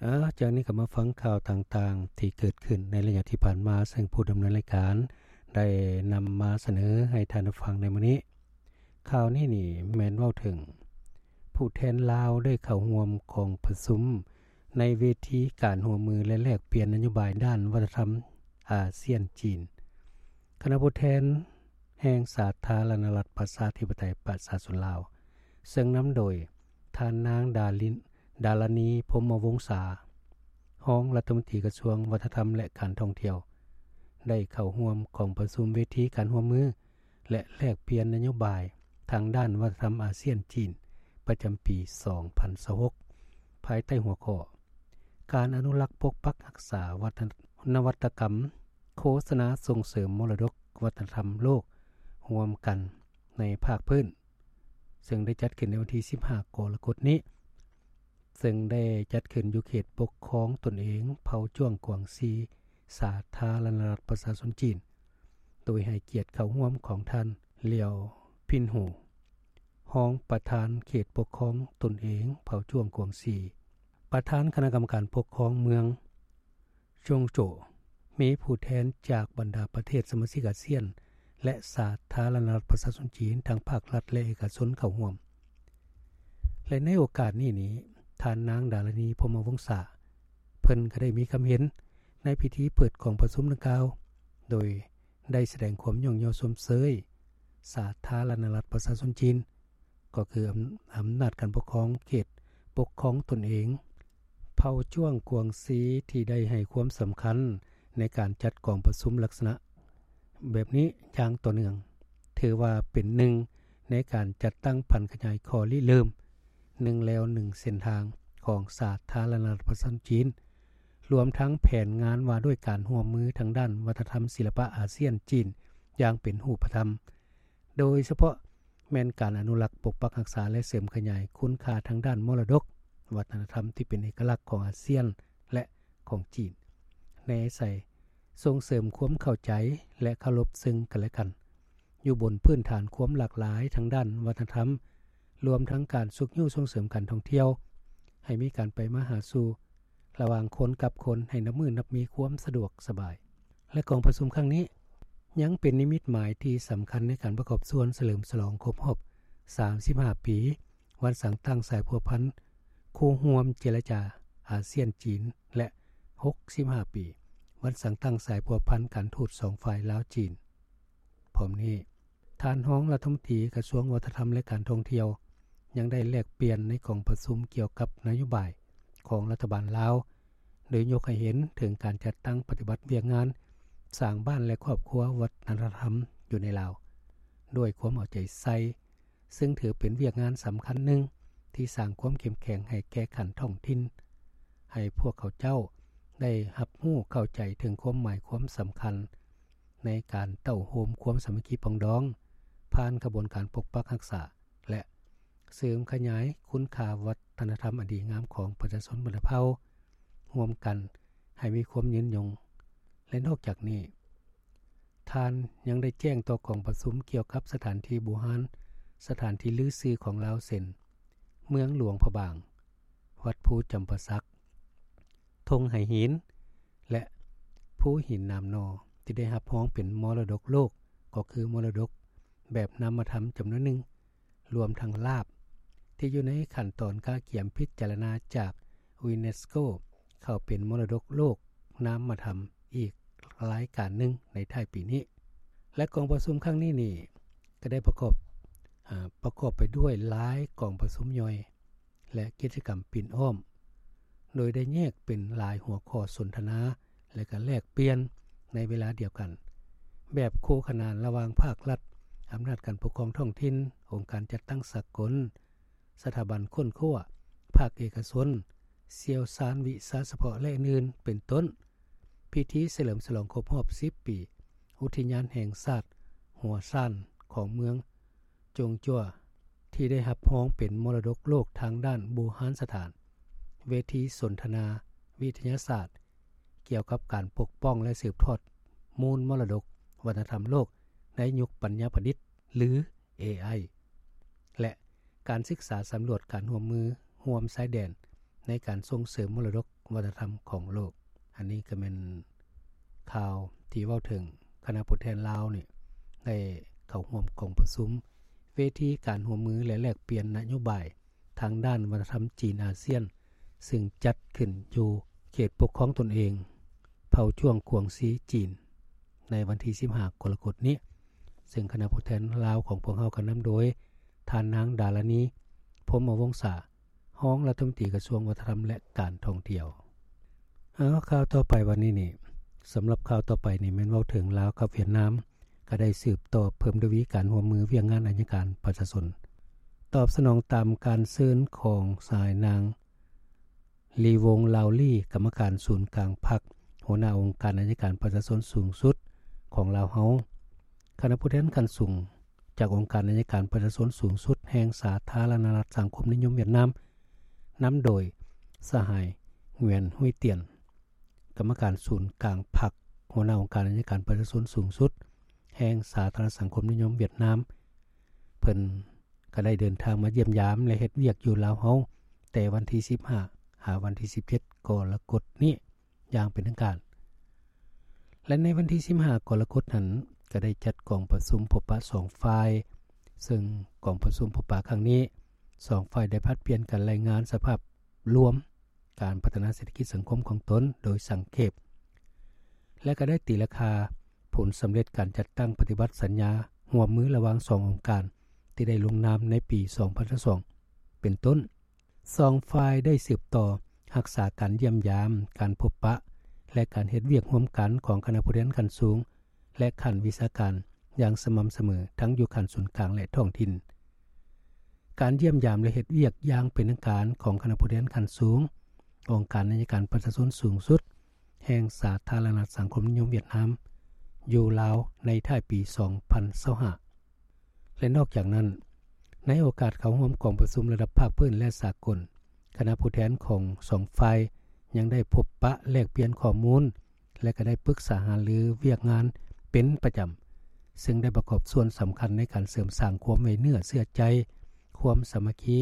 ເອີ ຈາກນີ້ກໍມາຟັງຂ່າວຕ່າງໆທີ່ເກີດຂຶ້ນໃນໄລຍະທີ່ຜ່ານມາ, ເຊິ່ງຜູ້ດຳເນີນລາຍການໄດ້ນຳມາສະເໜີໃຫ້ທ່ານໄດ້ຟັງໃນມື້ນີ້. ຂ່າວນີ້ນີ້ແມ່ນເວົ້າເຖິງຜູ້ແທນລາວໄດ້ເຂົ້າຮ່ວມກອງປະຊຸມໃນເວທີການຮ່ວມມື ແລະ ແລກປ່ຽນນະໂຍບາຍດ້ານວັດທະນະທຳອາຊຽນ-ຈີນ. ຄະນະຜູ້ແທນແຫ່ງສາທາລະນະລັດປະຊາທິປະໄຕປະຊາຊົນລາວ ເຊິ່ງນຳໂດຍທ່ານນາງ ດາລິນ ດາລະນີ ພົມມະວົງສາ, ຮອງລັດຖະມົນຕີກະຊວງວັດທະນະທຳ ແລະ ການທ່ອງທ່ຽວ ໄດ້ເຂົ້າຮ່ວມກອງປະຊຸມເວທີການຮ່ວມມື ແລະ ແລກປ່ຽນນະໂຍບາຍທາງດ້ານວັດທະນະທຳອາຊຽນ-ຈີນ ປະຈຳປີສອງພັນຊາວຫົກ ພາຍໃຕ້ຫົວຂໍ້ ການອະນຸລັກປົກປັກຮັກສາວັດທະນະ ນະວັດຕະກຳໂຄສະນາສົ່ງເສີມມໍລະດົກວັດທະນະທຳໂລກຮ່ວມກັນໃນພາກພື້ນ ເຊິ່ງໄດ້ຈັດຂຶ້ນໃນວັນທີສິບຫ້າ ກໍລະກົດນີ້ ເຊິ່ງໄດ້ຈັດຂຶ້ນຢູ່ເຂດປົກຄອງຕົນເອງເຜົ່າຈວງກວາງຊີ ສາທາລະນະລັດປະຊາຊົນຈີນ, ໂດຍໃຫ້ກຽດເຂົ້າຮ່ວມຂອງທ່ານ ຫຼຽວ ພິນໂຮ ຮອງປະທານເຂດປົກຄອງຕົນເອງເຜົ່າຈວງກວາງຊີ, ປະທານຄະນະກຳມະການປົກຄອງເມືອງ ໂຈງໂຈ, ມີຜູ້ແທນຈາກບັນດາປະເທດສະມາຊິກອາຊຽນ ແລະ ສາທາລະນະລັດປະຊາຊົນຈີນ ທັງພາກລັດ ແລະ ເອກະຊົນເຂົ້າຮ່ວມ. ແລະ ໃນໂອກາດນີ້ນີ້ ທ່ານນາງ ດາລະນີ ພົມມະວົງສາ ເພິ່ນກໍໄດ້ມີຄຳເຫັນໃນພິທີເປີດກອງປະຊຸມດັ່ງກ່າວ ໂດຍໄດ້ສະແດງຄວາມຍ້ອງຍໍຊົມເຊີຍສາທາລະນະລັດປະຊາຊົນຈີນ ກໍຄືອຳ ອຳນາດການປົກຄອງເຂດປົກຄອງຕົນເອງເຜົ່າຈວງກວາງຊີ ທີ່ໄດ້ໃຫ້ຄວາມສຳຄັນໃນການຈັດກອງປະຊຸມລັກສະນະແບບນີ້ຢ່າງຕໍ່ເນື່ອງ, ຖືວ່າເປັນໜຶ່ງໃນການຈັດຕັ້ງຜັນຂະຫຍາຍຂໍ້ລິເລີ່ມ ໜຶ່ງແລວໜຶ່ງເສັ້ນທາງ ຂອງສາທາລະນະລັດປະຊາຊົນຈີນ, ລວມທັງແຜນງານວ່າດ້ວຍການຮ່ວມມືທາງດ້ານວັດທະນະທຳສິລະປະອາຊຽນ-ຈີນ ຢ່າງເປັນຮູບປະທຳ, ໂດຍສະເພາະ ແມ່ນການອະນຸລັກ, ປົກປັກຮັກສາ ແລະ ເສີມຂະຫຍາຍຄຸນຄ່າທາງດ້ານມໍລະດົກວັດທະນະທຳທີ່ເປັນເອກະລັກຂອງອາຊຽນ ແລະ ຂອງຈີນ, ແນໃສ່ສົ່ງເສີມຄວາມເຂົ້າໃຈ ແລະ ເຄົາລົບເຊິ່ງກັນ ແລະ ກັນ ຢູ່ບົນພື້ນຖານຄວາມຫຼາກຫຼາຍທາງດ້ານວັດທະນະທຳ, ລວມທັງການຊຸກຍູ້ສົ່ງເສີມການທ່ອງທ່ຽວ ໃຫ້ມີການໄປມາຫາສູ່ລະຫວ່າງຄົນກັບຄົນ ໃຫ້ນັບມື້ນັບມີຄວາມສະດວກສະບາຍ. ແລະ ກອງປະຊຸມຄັ້ງນີ້ ຍັງເປັນນິມິດໝາຍທີ່ສຳຄັນໃນການປະກອບສ່ວນສະເຫຼີມສະຫຼອງຄົບຮອບສາມສິບຫ້າປີ ວັນສ້າງຕັ້ງສາຍພົວພັນຄູ່ຮ່ວມເຈລະຈາອາຊຽນ-ຈີນ ແລະ ຫົກສິບຫ້າປີ ວັນສ້າງຕັ້ງສາຍພົວພັນການທູດສອງຝ່າຍລາວ-ຈີນ. ພ້ອມນີ້, ທ່ານຮອງລັດຖະມົນຕີກະຊວງວັດທະນະທຳ ແລະ ການທ່ອງທ່ຽວ ຍັງໄດ້ແລກປ່ຽນໃນກອງປະຊຸມກ່ຽວກັບນະໂຍບາຍຂອງລັດຖະບານລາວ, ໂດຍຍົກໃຫ້ເຫັນເຖິງການຈັດຕັ້ງປະຕິບັດວຽກງານສ້າງບ້ານ ແລະ ຄອບຄົວວັດທະນະທຳຢູ່ໃນລາວ ດ້ວຍຄວາມເອົາໃຈໃສ່, ເຊິ່ງຖືເປັນວຽກງານສຳຄັນໜຶ່ງທີ່ສ້າງຄວາມເຂັ້ມແຂງໃຫ້ແກ່ຂັ້ນທ້ອງຖິ່ນ, ໃຫ້ພວກເຂົາເຈົ້າໄດ້ຮັບຮູ້ເຂົ້າໃຈເຖິງຄວາມໝາຍຄວາມສຳຄັນ ໃນການເຕົ້າໂຮມຄວາມສາມັກຄີປອງດອງ ຜ່ານຂະບວນການປົກປັກຮັກສາ ແລະ ເສີມຂະຫຍາຍຄຸນຄ່າວັດທະນະທຳອັນດີງາມຂອງປະຊາຊົນບັນດາເຜົ່າຮ່ວມກັນໃຫ້ມີຄວາມຍືນຍົງ. ແລະ ນອກຈາກນີ້, ທ່ານຍັງໄດ້ແຈ້ງຕໍ່ກອງປະຊຸມກ່ຽວກັບສະຖານທີ່ບູຮານ, ສະຖານທີ່ລືຊື່ຂອງລາວ ເຊັ່ນ ເມືອງຫຼວງພະບາງ, ວັດພູຈຳປາສັກ, ທົ່ງໄຫຫີນ ແລະ ພູຫີນນາມໜໍ່ ທີ່ໄດ້ຮັບຮອງເປັນມໍລະດົກໂລກ, ກໍຄືມໍລະດົກແບບນາມມະທຳຈຳນວນໜຶ່ງ, ລວມທັງລາບທີ່ຢູ່ໃນຂັ້ນຕອນກະກຽມພິຈາລະນາຈາກຢູເນສໂກ ເຂົ້າເປັນມໍລະດົກໂລກນາມມະທຳອີກລາຍການໜຶ່ງໃນທ້າຍປີນີ້. ແລະ ກອງປະຊຸມຄັ້ງນີ້ນີ້ ກໍໄດ້ປະກອບ, ອາ, ປະກອບໄປດ້ວຍຫຼາຍກອງປະຊຸມຍ່ອຍ ແລະ ກິດຈະກຳປິ່ນອ້ອມ, ໂດຍໄດ້ແຍກເປັນຫຼາຍຫົວຂໍ້ສົນທະນາ ແລະ ກະແລກປ່ຽນໃນເວລາດຽວກັນ, ແບບຄູ່ຂະໜານລະຫວ່າງພາກລັດ, ອຳນາດການປົກຄອງທ້ອງຖິ່ນ, ອົງການຈັດຕັ້ງສາກົນ, ສະຖາບັນຄົ້ນຄວ້າ, ພາກເອກະຊົນ, ຊ່ຽວຊານວິຊາສະເພາະ ແລະ ອື່ນໆ ເປັນຕົ້ນ. ພິທີສະເຫຼີມສະຫຼອງຄົບຮອບສິບປີ ອຸທິຍານແຫ່ງຊາດຫົວຊານຂອງເມືອງ ຈົງຈົວ ທີ່ໄດ້ຮັບຮອງເປັນມໍລະດົກໂລກທາງດ້ານບູຮານສະຖານ, ເວທີສົນທະນາວິທະຍາສາດກ່ຽວກັບການປົກປ້ອງ ແລະ ສືບທອດມູນມໍລະດົກວັດທະນະທຳໂລກໃນຍຸກປັນຍາປະດິດ ຫຼື ເອໄອ ແລະ ການສຶກສາສຳຫຼວດການຮ່ວມມືຮ່ວມຊາຍແດນໃນການສົ່ງເສີມມໍລະດົກ ວັດທະນະທຳຂອງໂລກ. ອັນນີ້ກໍແມ່ນຂ່າວທີ່ເວົ້າເຖິງຄະນະຜູ້ແທນລາວນີ້ ໄດ້ເຂົ້າຮ່ວມກອງປະຊຸມເວທີການຮ່ວມມື ແລະ ແລກປ່ຽນນະໂຍບາຍທາງດ້ານວັດທະນະທຳຈີນອາຊຽນ ຊຶ່ງຈັດຂຶ້ນຢູ່ເຂດປົກຄອງຕົນເອງເຜົ່າຈວງກວາງຊີຈີນ ໃນວັນທີສິບຫ້າ ກໍລະກົດນີ້, ຊຶ່ງຄະນະຜູ້ແທນລາວຂອງພວກເຮົາກໍນຳໂດຍ ທ່ານນາງ ດາລານີ ພົມມະວົງສາ ຮອງລັດຖະມົນຕີກະຊວງວັດທະນະທຳ ແລະ ການທ່ອງທ່ຽວ. ເອົາ ຂ່າວຕໍ່ໄປວັນນີ້ນີ້ ສຳລັບຂ່າວຕໍ່ໄປນີ້ແມ່ນເວົ້າເຖິງລາວກັບຫວຽດນາມ ກໍໄດ້ສືບຕໍ່ເພີ່ມທະວີການຮ່ວມມືວຽກງານໄອຍະການປະຊາຊົນ. ຕອບສະໜອງຕາມການເຊີນຂອງສະຫາຍນາງ ລີວົງ ລາວລີ ກຳມະການສູນກາງພັກ ຫົວໜ້າອົງການໄອຍະການປະຊາຊົນສູງສຸດຂອງລາວເຮົາ, ຄະນະຜູ້ແທນຂັ້ນສູງຈາກອົງການໄອຍະການປະຊາຊົນສູງສຸດແຫ່ງສາທາລະນະລັດສັງຄົມນິຍົມຫວຽດນາມ ນຳໂດຍສະຫາຍ ຫງວຽນ ຮຸ້ຍຕຽນ ກຳມະການສູນກາງພັກ ຫົວໜ້າອົງການໄອຍະການປະຊາຊົນສູງສຸດແຫ່ງສາທາລະນະລັດສັງຄົມນິຍົມຫວຽດນາມ ເພິ່ນກໍໄດ້ເດີນທາງມາຢ້ຽມຢາມ ແລະ ເຮັດວຽກຢູ່ລາວເຮົາ ແຕ່ວັນທີສິບຫ້າ ຫາວັນທີສິບເຈັດ ກໍລະກົດນີ້ຢ່າງເປັນທາງການ. ແລະ ໃນວັນທີສິບຫ້າ ກໍລະກົດນັ້ນ ກໍໄດ້ຈັດກອງປະຊຸມພົບປະສອງຝ່າຍ, ເຊິ່ງກອງປະຊຸມພົບປະຄັ້ງນີ້ ສອງຝ່າຍໄດ້ຜັດປ່ຽນກັນລາຍງານສະພາບລວມ ການພັດທະນາເສດຖະກິດສັງຄົມຂອງຕົນໂດຍສັງເຂບ ແລະ ກໍໄດ້ຕີລາຄາຜົນສຳເລັດການຈັດຕັ້ງປະຕິບັດສັນຍາຮ່ວມມືລະຫວ່າງສອງອົງການ ທີ່ໄດ້ລົງນາມໃນປີສອງພັນຊາວສອງ ເປັນຕົ້ນ. ສອງຝ່າຍໄດ້ສືບຕໍ່ຮັກສາການຢ້ຽມຢາມ, ການພົບປະ ແລະ ການເຮັດວຽກຮ່ວມກັນຂອງຄະນະຜູ້ແທນຂັ້ນສູງ ແລະ ຂັ້ນວິຊາການຢ່າງສະໝ່ຳສະເໝີ ທັງຢູ່ຂັ້ນສູນກາງ ແລະ ທ້ອງຖິ່ນ. ການຢ້ຽມຢາມ ແລະ ເຮັດວຽກຢ່າງເປັນທາງການຂອງຄະນະຜູ້ແທນຂັ້ນສູງ ອົງການໄອຍະການປະຊາຊົນສູງສຸດແຫ່ງສາທາລະນະລັດສັງຄົມນິຍົມຫວຽດນາມ ຢູ່ລາວໃນທ້າຍປີສອງພັນຊາວຫ້າ ແລະ ນອກຈາກນັ້ນ ໃນໂອກາດເຂົ້າຮ່ວມກອງປະຊຸມລະດັບພາກພື້ນ ແລະ ສາກົນ, ຄະນະຜູ້ແທນຂອງສອງຝ່າຍຍັງໄດ້ພົບປະແລກປ່ຽນຂໍ້ມູນ ແລະ ກໍໄດ້ປຶກສາຫາລືວຽກງານເປັນປະຈຳ, ເຊິ່ງໄດ້ປະກອບສ່ວນສຳຄັນໃນການເສີມສ້າງຄວາມໄວ້ເນື້ອເຊື່ອໃຈ, ຄວາມສາມັກຄີ